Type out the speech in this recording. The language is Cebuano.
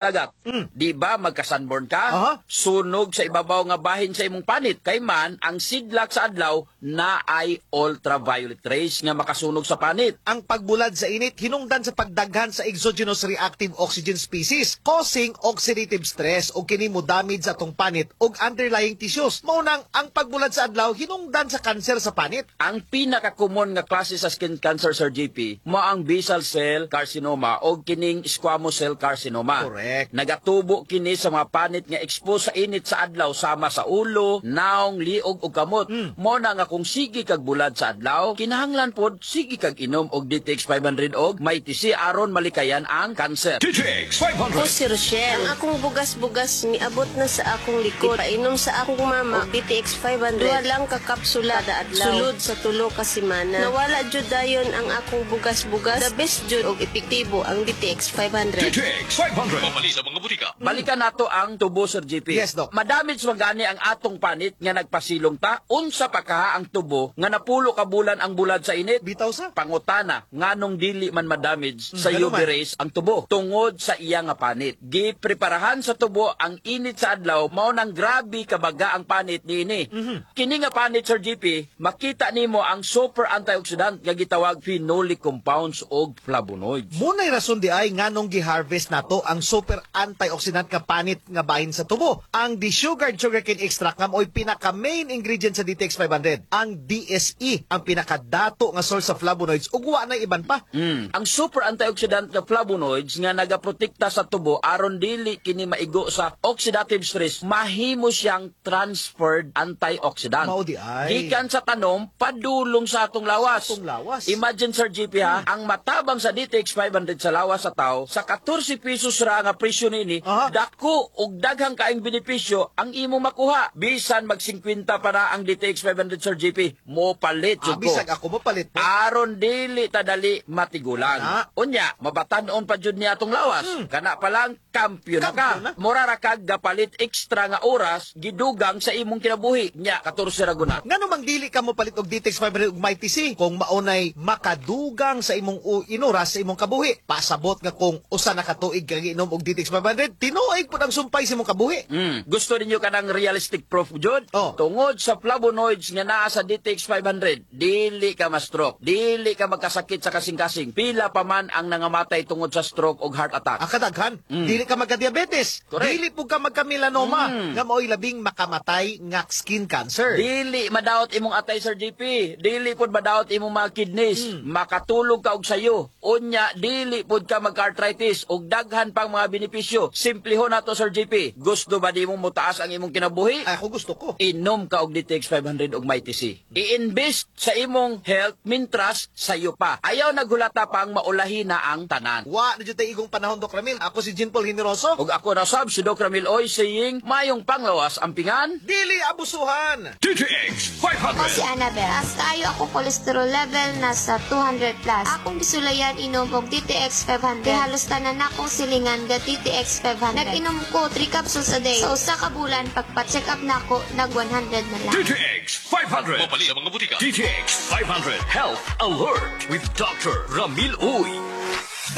Dagat. Di ba magka-sunburn ka? Aha. Sunog sa ibabaw nga bahin sa imong panit. Kay man, ang sidlak sa adlaw na ay ultraviolet rays nga makasunog sa panit. Ang pagbulad sa init hinungdan sa pagdaghan sa exogenous reactive oxygen species causing oxidative stress o kini mo damage sa atong panit ug underlying tissues. Mao nang ang pagbulad sa adlaw hinungdan sa kanser sa panit. Ang pinaka-common nga klase sa skin cancer, Sir JP, mao ang basal cell carcinoma o kining squamous cell carcinoma. Nagatubo kini sa mga panit nga expose sa init sa adlaw sama sa ulo, naong, liog ug kamot. Mao na nga kung sige kag bulad sa adlaw, kinahanglan pod sige kag inom og DTX 500 og Mighty C aron malikayan ang cancer. DTX Ako 500. si Rochelle. Ang akong bugas-bugas miabot na sa akong likod. Painom sa akong mama og DTX 500. Duha lang ka kapsula kada adlaw. Sulod sa 3 ka semana. Nawala jud dayon ang akong bugas-bugas. The best jud og epektibo ang DTX 500. DTX 500. Mamali sa mga butika. Balikan nato ang tubo, Sir JP. Yes, Doc. Madamage man gani ang atong panit nga nagpasilong ta, unsa pa kaha ang tubo nga napulo ka bulan ang bulad sa init? Bitaw sa. Pangutana, nganong dili man madamage sa Ano UV man? rays ang tubo tungod sa iya nga panit? Gipreparahan sa tubo ang init sa adlaw, mao nang grabe kabaga ang panit niini. Kini nga panit, Sir JP, makita nimo ang super antioxidant nga gitawag phenolic compounds og flavonoids. Muna'y rason di ay nganong gi-harvest nato ang super antioxidant nga panit nga bahin sa tubo. Ang desugared sugarcane extract nga mo'y pinaka main ingredient sa DTX 500. Ang DSE ang pinakadato nga source sa flavonoids ug wa na iban pa. Ang super antioxidant nga flavonoids nga nagaprotekta sa tubo aron dili kini maigo sa oxidative stress, mahimo siyang transferred antioxidant. Mao di ay. Gikan sa tanom padulong sa atong lawas. Atong lawas. Imagine, Sir JP, ha, ang matabang sa DTX 500 sa lawas sa tao, sa 14 pesos ra nga presyo niini, dako og daghang kaayong benepisyo ang imong makuha. Bisan mag 50 pa na ang DTX 500, Sir JP, mo palit jud ko. Bisag ako mo palit po. Aron dili tadali matigulang. Ana. Unya, mabatan-on pa jud niya atong lawas. Kana pa lang, kampiyon na ka. Kampiyon na. Mura ra kag gapalit extra nga oras gidugang sa imong kinabuhi. Nya, 14 ra guna. Ngano mang dili ka mo palit og DTX 500 ug Mighty C kung maunay makadugang sa imong inoras sa imong kabuhi? Pasabot nga kung usa na ka tuig kang inom og DTX 500, tinuig pud ang sumpay sa imong kabuhi. Gusto ninyo kanang realistic proof jud? Oh. Tungod sa flavonoids nga naa sa DTX 500, dili ka ma-stroke, dili ka magkasakit sa kasing-kasing. Pila pa man ang nangamatay tungod sa stroke og heart attack. Ang kadaghan, dili ka magka-diabetes, dili pud ka magka-melanoma, nga mao'y labing makamatay nga skin cancer. Dili madaot imong atay, Sir JP. Dili pud madaot imong mga kidneys. Makatulog ka og sayo. Unya dili pud ka magka-arthritis ug daghan pang mga benepisyo. Simplihon nato, Sir JP. Gusto ba nimo motaas ang imong kinabuhi? Ay, ako gusto ko. Inom ka og DTX 500 og Mighty C. I-invest sa imong health mintras sayo pa. Ayaw naghulata pang maulahi na ang tanan. Wa na jud tay igong panahon, Doc Ramil. Ako si Jean Paul Generoso. Ug ako na sab si Doc Ramil Oy saying, mayong panglawas ang pingan. Dili abusuhan. DTX Ako si 500. Annabel. Taas kaayo ako cholesterol level, nasa 200 plus. Akong gisulayan inom og DTX 500. Kay halos tanan akong silingan ga DTX 500. Nag-inom ko 3 capsules a day. Sa 1 ka bulan, pagpa-check up nako, nag 100 na lang. DTX 500. Mapali sa mga butika. DTX 500 Health Alert with Dr. Ramil Uy.